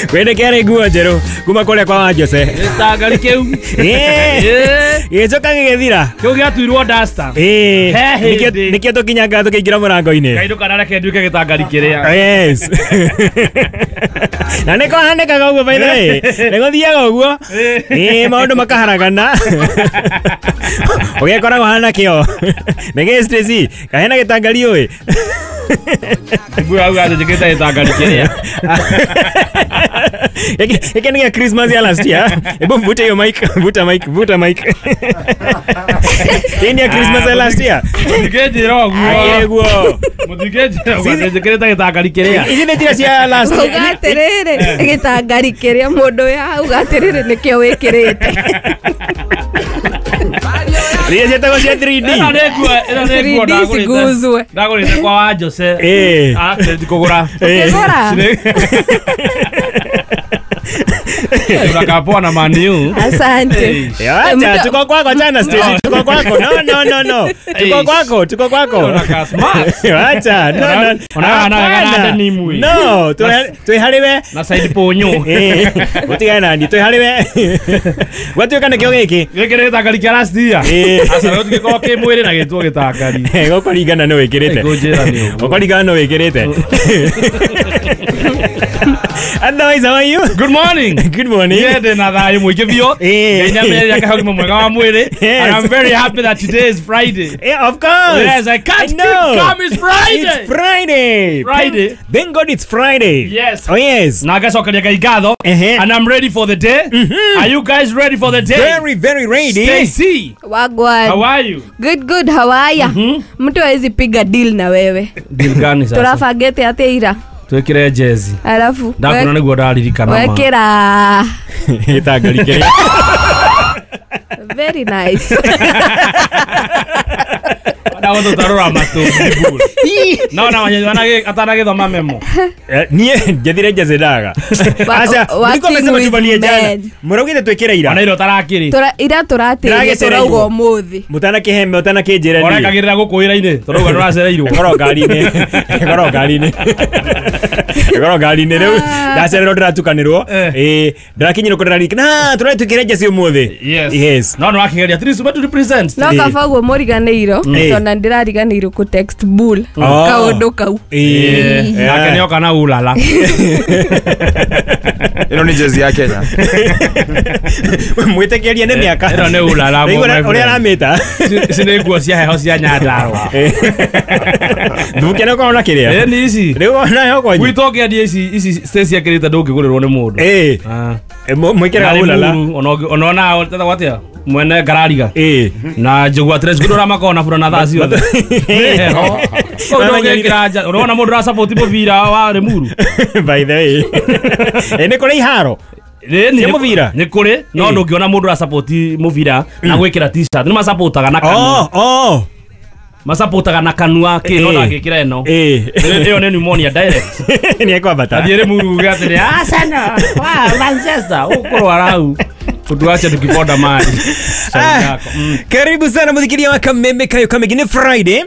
Kwene kĩarĩ nguo njerũ kuma kũrĩa kwa Wanjose. Gĩtangari kĩu. Gĩcoka gĩgĩthira. Kĩu gĩatuirwo duster. Nĩkĩo tũkinyangaga tũkĩingĩra mũrango-inĩ. Ngai ndũkanareke nduĩke gĩtangari kĩrĩa. Yes. Na nĩ kũhanĩkaga ũguo by the way. Nĩ gũthiaga ũguo. Maũndũ makaharagana. Ũgekora ũhana kĩo. Nĩ gĩ Stacy, kahena gĩtangari ũĩ. Nguo auga atĩ njĩkĩte gĩtangari kĩrĩa. Hiki ni ya Christmas ya last year. Hebu mvute hiyo mic, vuta mic, vuta mic. Hii ni ya Christmas ya last year. Mũtingĩnjĩra ũguo. Akĩrĩ guo. Mũtingĩnjĩra ũguo atĩ njĩkĩrĩte gĩtangari kĩrĩa. Ici nĩ njĩra cia last year. Uga atĩrĩrĩ, gĩtangari kĩrĩa mũndũ ũyũ auga atĩrĩrĩ nĩkĩo wĩkĩrĩte. Iria ciĩtagwo cia 3D. Ĩno nĩ nguo, ĩno nĩ nguo 3D ndagũrĩte. ciguzwe. Ndagũrĩte kwa Wanjose. Ndikũgũra. Ũkĩgũra? Unakaa poa na Man U. Asante. Acha, tuko kwako jana Stacy, tuko kwako. No no no no. Tuko kwako, tuko kwako. Unakaa smart. Acha, no no. Ona denim we. No, twĩ harĩ we. Na side ponyo. Ũtigane nani, twĩ harĩ we. Gwatuĩka nĩkĩo gĩkĩ. Gĩkĩ nĩ gĩtangari kĩa last year. Aca rĩu gĩkorwo kĩ mwĩrĩ na gĩtwo gĩtangari. Gũkũringana nĩ wĩkĩrĩte. Ngũnjĩra nĩ ũguo. Gũkũringana nĩ wĩkĩrĩte. Otherwise, how are you? Good morning. Good morning. Yeah, ndĩna thayũ mũingĩ biũ. Ngai nĩamenyereire akahe ũgima mwega wa mwĩrĩ. And I'm very happy that today is Friday. Yeah, of course. Yes, I can't I know. keep calm. It's Friday. It's Friday. Friday. Thank God it's Friday. Yes. Oh yes. Na ngacokeria Ngai ngatho. And I'm ready for the day. Are you guys ready for the day? Very, very ready. Stacy, Wagwan. how are you? Good, good, how are ya? Mtu hawezi piga deal na wewe. Deal gani sasa? Turabangĩte atĩa ira? Twĩkĩre jezi. Alafu Ndakuona nĩguo ndaririkana ma. wekĩra Gĩtangari kĩrĩa. Very nice. Ndagũtũtarũra matũ. No na atanagĩthoma memo. Niĩ njethire jezi ndaga. Aca, Working mũriko mesema with tuvalie jana. men. Mũraugĩte twĩkĩre ira. Ona ira ũtarakĩrĩ. Ira tũratĩrie tũrauga ũmũthĩ. Mũtanakĩhe mũtanakĩnjĩra niĩ. Ũrekagĩrĩra gũkũ wĩra-inĩ tũrauga nĩũracereirwo. Ĩkorwo ngari-inĩ. Ĩkorwo ngari-inĩ. Ĩkorwo ngari-inĩ rĩu ndacererwo ndĩratukanĩrwo. Ndĩrakinyirwo kũ ndĩraririkana. Na tũratwĩkĩre jezi ũmũthĩ. Yes. Yes. No nĩwakĩgeria at least to represent. No kaba ũguo mũriganĩirwo tondũ ndĩrariganĩirwo kũ text bull kaũndũ kau. Nake nĩoka na ulala. Ĩno nĩ jezi ya Kenya. Mwĩtĩkĩrie nĩ mĩaka. Ĩno nĩ ulala. Ũrĩa aramĩta. Ici nĩ nguo cia heho cia Nyandarũa. Thubukia nĩ ũkorwo na kĩrĩa. Nĩ ici. Rĩu ona heho kwanyu. Gwitũ ũngĩendia ici ici Stacy ekĩrĩte ndũngĩgũrĩrwo nĩ mũndũ. Mwĩkĩraga ulala. Ona ona tetagwo atĩa? Mwene ngarariga. Na njũgua trench coat ũrĩa makoragwo na burana thaa ciothe. Nĩ heho. Ũndũngĩkĩra nja. Ũrona mũndũ ũrasupport mũbira wa Limuru. By the way. Nĩ kũrĩ iharo. Cia mũbira? Nĩ kũrĩ, no ndũngĩona mũndũ ũrasupport mũbira na gwĩkĩra t-shirt. Nĩ masupportaga na kanua. Masupportaga na kanua kĩ no ndangĩkĩra ĩno. Ĩyo nĩ pneumonia direct. Nĩ ekwambata. Athiĩ Limuru uge atĩrĩ Arsenal, wa Manchester, ũkũrwara hau. Tuache tukiponda maji. Karibu sana muthikiria wa Kameme Kayo Kamegi. Ni Friday.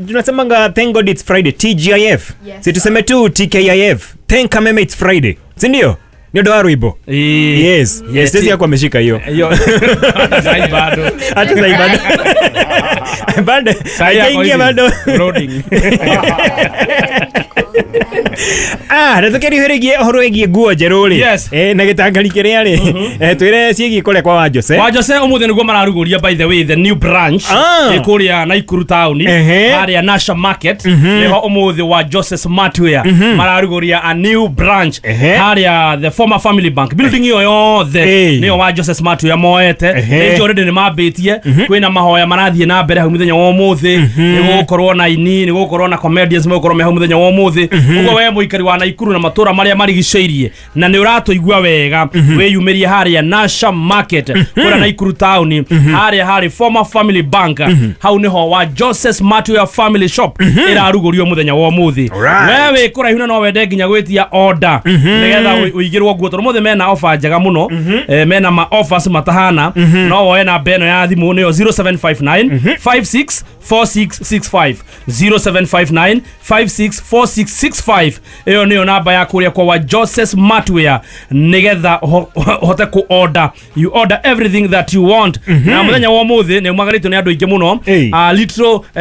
Tunasemanga thank God it's Friday, TGIF. Yes. Si tuseme tu TKIF. Thank Kameme it's Friday. Si ndio? Ni ndo wa rwimbo. Yes. Yes, Stacy yako ameshika hiyo. Hiyo. Sai bado. Hata sai bado. Bado. Hajaingia bado. Loading. Na tũkĩriũhĩrĩgie ũhoro wĩgiĩ nguo njerũ rĩ. Yes. Na gĩtangari kĩrĩa rĩ. Twĩre ciĩgiĩ kũrĩa kwa Wanjose. Wanjose ũmũthĩ nĩguo mararugũria by the way the new branch ĩ kũrĩa Naikuru town harĩa Nasha Market nĩho ũmũthĩ Wanjose Smartwear mararugũria a new branch harĩa the former Family Bank building ĩyo yothe nĩyo Wanjose Smartwear moete. Nĩ already nĩ mambĩtie kwĩna mahoya marathiĩ na mbere hau mũthenya wa ũmũthĩ. Nĩ gũgũkorwo na ini, nĩ gũgũkorwo na comedians megũkorwo me hau mũthenya wa ũmũthĩ. Ũguo we mũikari wa Naikuru na matũra marĩa marigicĩirie na nĩ ũratũigua wega wĩyumĩrie harĩa Nasha Market kũrĩa Naikuru town harĩa harĩ former Family Bank hau nĩho Wanjose Smartwear Family Shop ĩrarugũrio mũthenya wa ũmũthĩ. We wĩ kũraihu na no wende nginya gwĩtia order nĩgetha ũigĩrwo nguo tondũ ũmũthĩ mena offer njega mũno. Mena ma offers matahana no woe namba ĩno ya thimũ nĩyo 0759 56 4665 0759 564665 5 iyo niyo namba ya kuria kwa wa Joseph Smartwear nigetha uhote ku order. You order everything that you want. Na muthenya wa muthi ni umagaritwo ni andu aingi muno.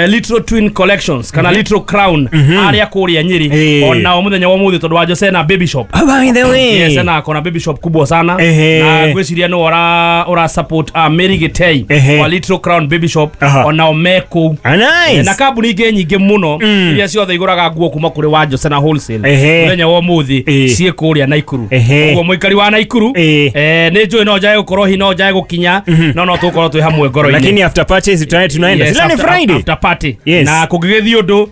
Little Twin Collections kana Little Crown aria kuria Nyeri ona muthenya wa muthi tondu wa Jose na baby shop. By the way, yes, na kona baby shop kubwa sana na ngwiciria no ora support Mary Gitei wa Little Crown baby shop ona meko. Nice. Na kambuni ingĩ nyingĩ mũno iria ciothe igũraga nguo kuma kũrĩ wa Jose na wholesale muthenya wa muthi ciĩ kũrĩa Naikuru. Ũguo mũikari wa Naikuru nĩ njũĩ no njae gũkorwo hi no njae gũkinya no tũkorwo twĩ hamwe ngoro-inĩ, lakini after purchase tunaenda. Yes, ni Friday after party. Yes. Na kũngĩgĩthiĩ ũndũ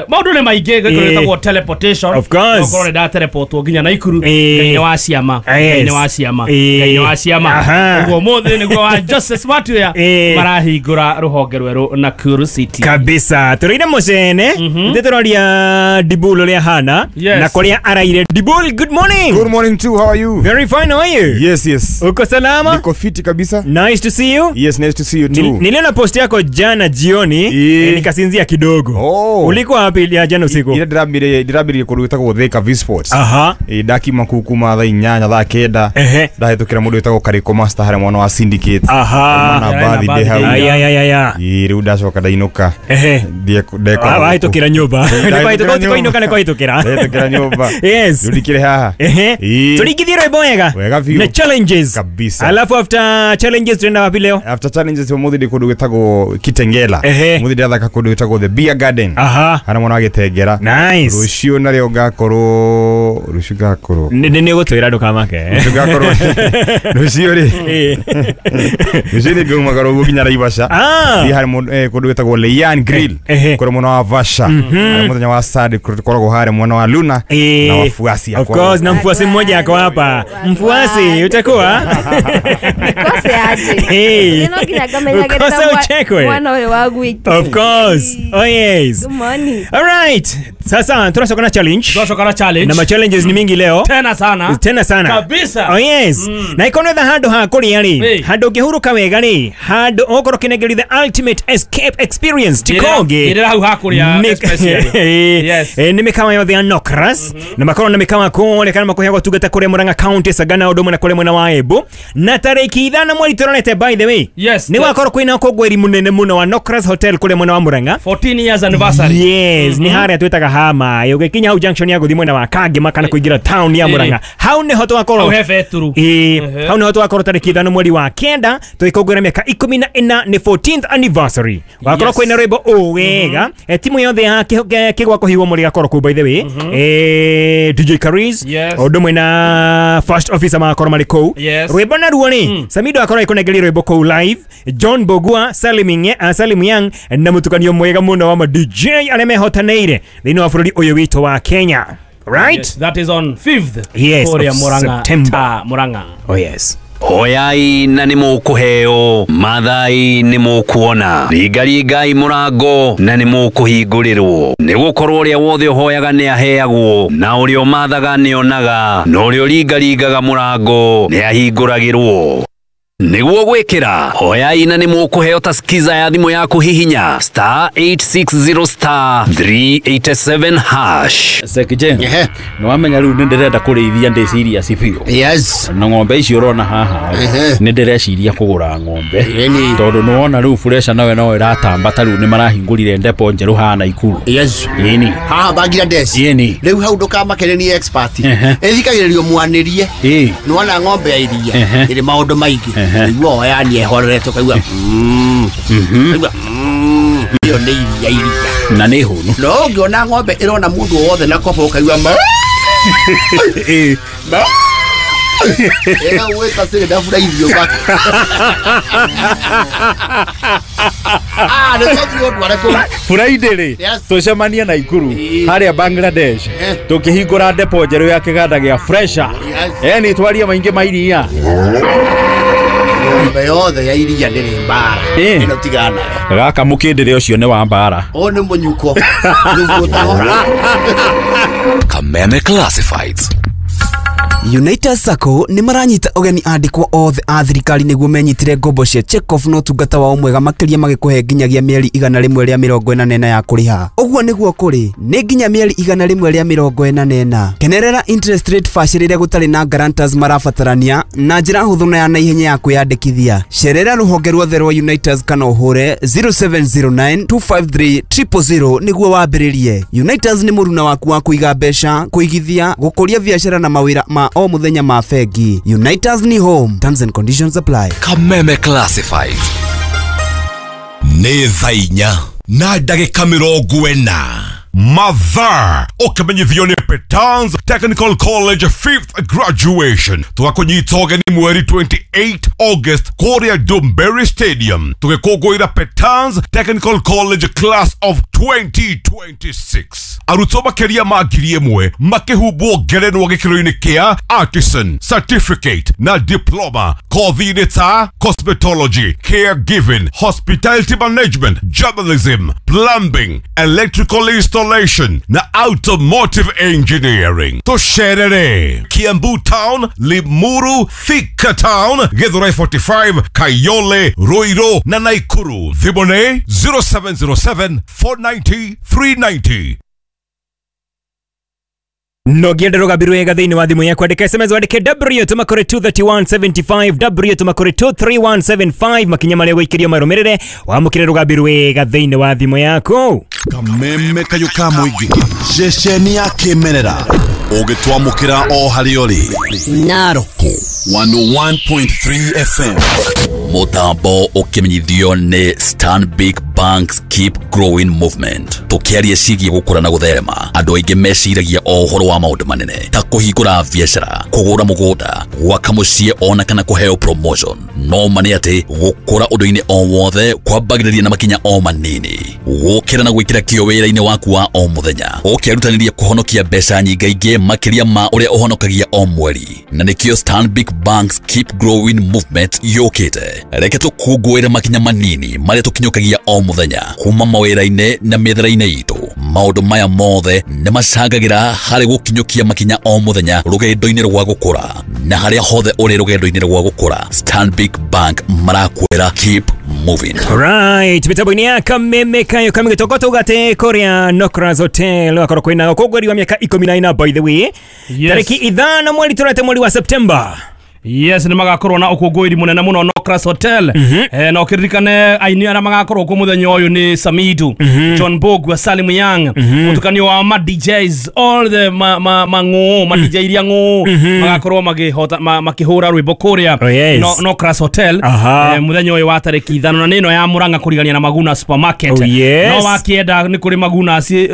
maũndũ nĩ maingĩ gĩkũrĩtagwo teleportation. Of course. Ũkorwo nĩ ndateleportwo nginya Naikuru. Ngai nĩ wa ciama, Ngai nĩ wa ciama, Ngai nĩ wa ciama. Ũguo mũthĩ nĩguo wa Joseph Smartwear marahingũra rũhonge rwerũ Nakuru City kabisa. Tũrĩire mũcene ndĩtũroria Dibul ũrĩa hana na kũrĩa araire. Dibul, good morning. Good morning too, how are you? Very fine, how are you? Yes, yes. Uko salama? Niko fiti kabisa. Nice to see you. Yes, nice to see you too. Niliona post yako jana jioni nikasinzia kidogo. Ulikuwa wapi ya jana usiku? Ile ndĩrambire kũndũ gwĩtagwo Thika V Sports. Aha. Ndakima kuu kuma thaa 8 thaa 9 ndahĩtũkĩra mũndũ wĩtagwo Kariko Master harĩa mwana wa Syndicate. Aha. Na birthday hau. Aya. Rĩu ndacoka ndainũka. Wahĩtũkĩra nyũmba. Nĩkwahĩtũka nĩkwahĩtũkĩra. Ndahĩtũkĩra nyũmba. Yes. Rĩu ndikĩrĩ haha. Tũringithie rwĩmbo wega. Wega biũ. Na challenges. Kabisa. Alafu after challenges tunaenda wapi leo? After challenges ũmũthĩ ndĩ kũndũ gwĩtagwo Kitengela. Ũmũthĩ ndĩrathaka kũndũ gwĩtagwo The Beer Garden. Aha. Harĩa mwana wa Gĩtengera. Nice. Rũciũ narĩo ngakorwo rũciũ ngakorwo. Nĩ gũtwĩra ndũkamake. Rũciũ ngakorwo. Rũciũ rĩ. Rũciũ nĩ ngaumagara ũguo nginya Naivasha. Thiĩ harĩ kũndũ gwĩtagwo Leyan Grill. Kũrĩ mwena wa Vasha. Harĩa mũthenya wa Saturday tũkoragwo harĩa mwena wa Luna na wafuasi. Of course, na mfuasi mmoja ako hapa. Mfuasi utakuwa? Nikose aje. Nino nginya ngamenyagĩrĩra mwana ũyũ wa gwitũ. Of course. Oh yes. Good morning. All right. Sasa tunasoka na challenge. Tunasoka na challenge. Na ma challenges ni mingi leo. Tena sana. Tena sana. Kabisa. Oh yes. Na ikono the handu ha kuria ri. Handu ngihuruka wega ri. Handu okorwo kinengeri the ultimate escape experience tikonge. Ira hau ha kuria especially. Yes. Ni mikawa yothe ya Nokras. Na makorwo na mikawa kũrĩa kana makuheagwo tungata kũrĩa Murang'a County Sagana ũndũ ũmwe na kũrĩa mwena wa Embu. Na tarĩki 5 mweri tũronete by the way. Yes. Ni wakorwo kwĩna ũkũngũĩri mũnene mũno wa Nokras Hotel kũrĩa mwena wa Murang'a. 14 years anniversary. Yes, ni harĩa twĩtaga hama. Ũgĩkinya hau junction ya gũthiĩ mwena wa Kangema kana kũingĩra town ya Murang'a. Hau nĩho twakorwo. Hau he beturu. Hau nĩho twakorwo tarĩki 5 mweri wa 9 tũgĩkũngũĩra mĩaka 14 nĩ 14th anniversary. Wakorwo kwĩna rwĩmbo ũ wega. Timu yothe ya kĩgwa kũhihwo mũrĩ gakorwo kũu by the way. DJ Karis. Ũndũ ũmwe na first officer makorwo marĩ kũu. Rwĩmbo naruo rĩ, Samido akorwo agĩkũnengeria rwĩmbo kũu live. John Bogua, Salim Young na mũtukanio mwega mũno wa ma DJ arĩa mehotanĩire thĩinĩ wa bũrũri ũyũ witũ wa Kenya. Right? Yes, that is on 5th. Yes, of Murang'a, September. Murang'a. Oh yes. Hoyai na nĩ mũkũheo, mathai nĩ mũkuona, ringaringai mũrango na nĩ mũkũhingũrĩrwo. Nĩ gũkorwo ũrĩa wothe ũhoyaga nĩ aheagwo, na ũrĩa ũmathaga nĩ onaga, na ũrĩa ũringaringaga mũrango nĩ ahingũragĩrwo. Nĩguo gwĩkĩra hoyai na nĩ mũkũheo ta skiza ya thimũ yaku hihinya star 860 star 387 hash. Sekije, nĩ wamenya rĩu nĩ ndĩrenda kũrĩithia ndĩ serious biũ. Yes. Na ng'ombe icio ũrona haha nĩ ndĩreciria kũgũra ng'ombe tondũ nĩ wona rĩu Fresha nawe no ĩratamba ta rĩu nĩ marahingũrire ndepo njerũ haha Naikuru. Yes. Ĩni. Haha Bangladesh. Ĩni. Rĩu hau ndũkamake nĩ expert. Ĩthikagĩrĩrio mwanĩrie. Nĩ wona ng'ombe ya iria ĩrĩ maũndũ maingĩ. Igua oya ni ehorere tukaigua kaigua iyo nĩ iria iria na nĩ hũnu no ũngĩona ng'ombe ĩrona mũndũ wothe na kobo ũkaigua ma ĩga gwĩta cĩrĩ ndabura irio baka nĩ tũthiĩ ũndware kũu Friday rĩ tũcemanie Naikuru harĩa Bangladesh tũkĩhingũra depo njerũ ya kĩganda gĩa Fresha. Ni twarie maingĩ ma iria. Ng'ombe yothe ya iria ndĩrĩ mbara ĩno tigana nayo. Gaka mũkĩndĩre ũcio nĩ wa mbara. Ũyũ nĩ mũnyuko. Nĩguo ũtahora. Kameme Classifieds. United Sacco nĩ maranyita ũgeni andĩkwo othe a thirikari nĩguo menyitĩre ngombo cia check-off na ũtungata wao mwega makĩria magĩkũhe nginyagia mĩeri 144 ya kũrĩha. Ũguo nĩguo kũrĩ nĩ nginya mĩeri 144. Kenerera interest rate bacĩrĩre gũtarĩ na guarantors marabatarania na njĩra hũthũ na ya naihenya ya kwĩyandĩkithia. Cerera rũhonge ruothe rwa Unitas kana ũhũre 0709 253 000 nĩguo wambĩrĩrie. Unitas nĩ mũruna waku wa kũiga mbeca, kũigithia, gũkũria biacara na mawĩra ma o mũthenya ma bengi. Unitas ni home. Terms and conditions apply. Kameme Classified. Nĩ thaa inya na ndagĩka 40. Mathaa ũkĩmenyithio nĩ Petans Technical College 5th graduation. Tũgakũnyita ũgeni mweri 28 August kũrĩa Dumberry Stadium tũgĩkũngũĩra Petans Technical College class of 2026. Arutwo makĩria ma 1,000 makĩhumbwo ngerenwa gĩkĩro-inĩ kĩa artisan, certificate na diploma kothi-inĩ ta cosmetology, caregiving, hospitality management, journalism, plumbing, electrical installation na automotive engineering. Tũcerere Kiambu Town, Limuru, Thika Town, Githurai 45, Kayole, Ruiru na Naikuru. Thimũ nĩ 0707 490 390. No ngĩenda rũgambi rwega thĩinĩ wa thimũ yaku andĩka SMS wandĩke W tũma kũrĩ 23175 W tũma kũrĩ 23175 makinya marĩa ũgũikĩrio marũmĩrĩre wamũkĩre rũgambi rwega thĩinĩ wa thimũ yaku. Kameme kayũ ka mũingĩ ceceni ya kĩmerera ũgĩtwamũkĩra o harĩa ũrĩ. Narok 101.3 FM. Mũtambo ũkĩmenyithio nĩ Stanbic Banks Keep Growing Movement. Tũkĩaria ciĩgiĩ gũkũra na gũtherema, andũ aingĩ meciragia o ũhoro wa maũndũ manene ta kũhingũra biacara, kũgũra mũgũnda, gwaka mũciĩ ona kana kũheo promotion. No ma nĩ atĩ gũkũra ũndũ-inĩ o wothe kwambagĩrĩria na makinya o manini. Gũkĩra na gwĩkĩra kĩyo wĩra-inĩ waku wa o mũthenya, ũkĩrutanĩria kũhonokia mbeca nyingaingĩ makĩria ma ũrĩa ũhonokagia o mweri. Na nĩkĩo Stanbic Banks Keep Growing Movement yũkĩte. Reke tũkũngũĩre makinya manini marĩa tũkinyũkagia o mũthenya kuma mawĩra-inĩ na mĩethere-inĩ itũ. Maũndũ maya mothe nĩ macangagĩra harĩ gũkinyũkia makinya o mũthenya rũgendo-inĩ rwa gũkũra. Na harĩa hothe ũrĩ rũgendo-inĩ rwa gũkũra, Stanbic Bank marakwĩra keep moving. Right, mitambo-inĩ ya Kameme kayo kamĩgĩtongo tũgate kũrĩa Nokras Hotel wakorwo kwĩna ũkũngũĩri wa mĩaka 14 by the way. Tarĩki 5 mweri tũrete mweri wa September. Yes, nĩ magakorwo na ũkũngũĩri mũnene mũno Nokras Hotel. Na ũkĩririkane aini arĩa magakorwo kuo mũthenya ũyũ nĩ Samidu, John Bogwa, Salim Young, mũtukanio wa ma DJs, all the mang'ũ, ma DJ iria ng'ũ magakorwo makĩhota makĩhũra rwĩmbo kũrĩa Nokras Hotel mũthenya ũyũ wa tarĩki 5 na nĩno ya Murang'a kũrigania na Maguna Supermarket. No wakĩenda nĩ kũrĩ Maguna, sorry,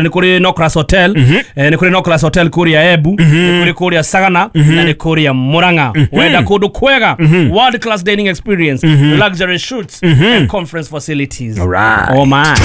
nĩ kũrĩ Nokras Hotel, nĩ kũrĩ Nokras Hotel kũrĩa Embu, nĩ kũrĩ kũrĩa Sagana na nĩ kũrĩa Murang'a. Wenda kũndũ kwega, world class dining experience, luxury shoots and conference facilities. All right. Oh my.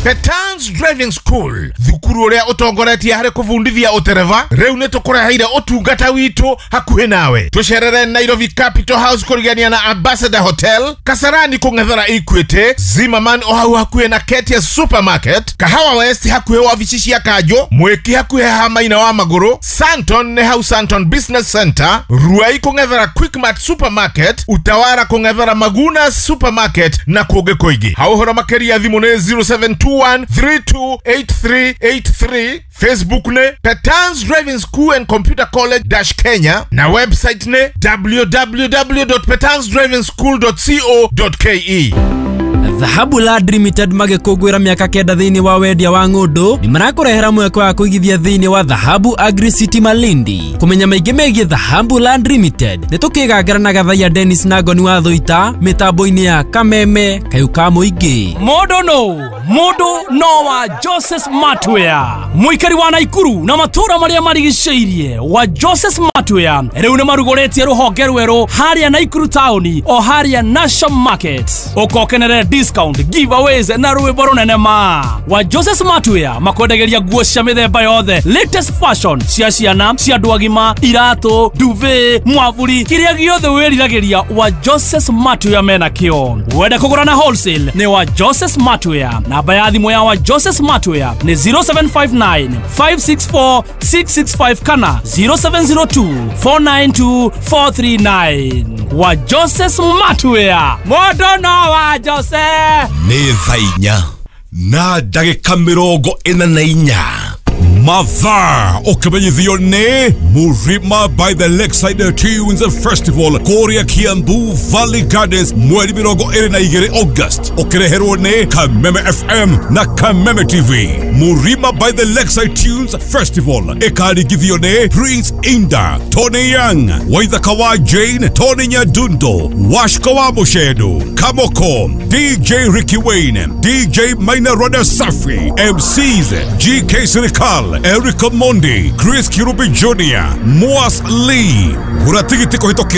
Petans Driving School, thukuru uria utongoretie hari kuvundithia utereva, riu ni tukureheire utungata witu hakuhi nawe. Tucerere Nairobi Capital House kurigania na Ambassador Hotel, Kasarani kung'ethera Equity, Zimmerman o hau hakuhi na Ketia Supermarket, Kahawa West hakuhi wabici cia Kanjo, Mwiki hakuhi ha Maina wa Maguru, Santon ni hau Santon Business Center, Ruai kung'ethera Quickmart Supermarket, Utawara kung'ethera Maguna Supermarket na kũngĩ kũingĩ. Hau ũhoro makĩria thimũ nĩ 0721 328383, Facebook ne Petans Driving School and Computer College -Kenya na website ne www.petansdrivingschool.co.ke. Dhahabu Land Limited magĩkũngũĩra mĩaka 9 thĩinĩ wa wendia wa ng'ũndũ nĩ marakũrehera mweke wa kũigithia thĩinĩ wa Dhahabu Agri City Malindi. Kũmenya maingĩ megiĩ Dhahabu Land Limited nĩ tũkĩgangara na Gathaiya Dennis na Ngoni wa Thũita mĩtambo-inĩ ya Kameme kayũ ka mũingĩ. Mũndũ no mũndũ no wa Joseph Matwea, mũikari wa Naikuru na matũũra marĩa marigicĩirie wa Joseph Matwea rĩu nĩ marugũrĩtie rũhonge rwerũ harĩa Naikuru taũni o harĩa National Market. Ũkokenere Discount, giveaways na rwĩmbo rũnene ma. Wa Jose Smartwear makwendageria nguo cia mĩthemba yothe, latest fashion cia ciana, cia andũ agima, iratũ, duvet, mwavuri, kĩrĩa gĩothe wĩriragĩria wa Jose Smartwear mena kĩo. Wenda kũgũra na wholesale nĩ wa Jose Smartwear. Namba ya thimũ ya wa Jose Smartwear nĩ 0759 564 665 kana 0702 492 439. Wa Jose Smartwear, mũndũ no wa Jose. Nĩ thaa 4 na ndagĩka 44. Mathaa ũkĩmenyithio nĩ Murima by the Lakeside Tunes Festival kũrĩa Kiambu Valley Gardens mweri 22 August, ũkĩreherwo nĩ Kameme FM na Kameme TV. Murima by the Lakeside Tunes Festival ĩkaringithio nĩ Prince Inda, Tony Young, Waithaka wa Jane, Tony Nyadundo, Washko wa Mushedu, Kamoko, DJ Ricky Wayne, DJ Maina Roda Safi, MCs GK Sirikal, Eric Mondi, Chris Kirubi Jr., Moas Lee. Gũra tigiti kũhĩtũkĩra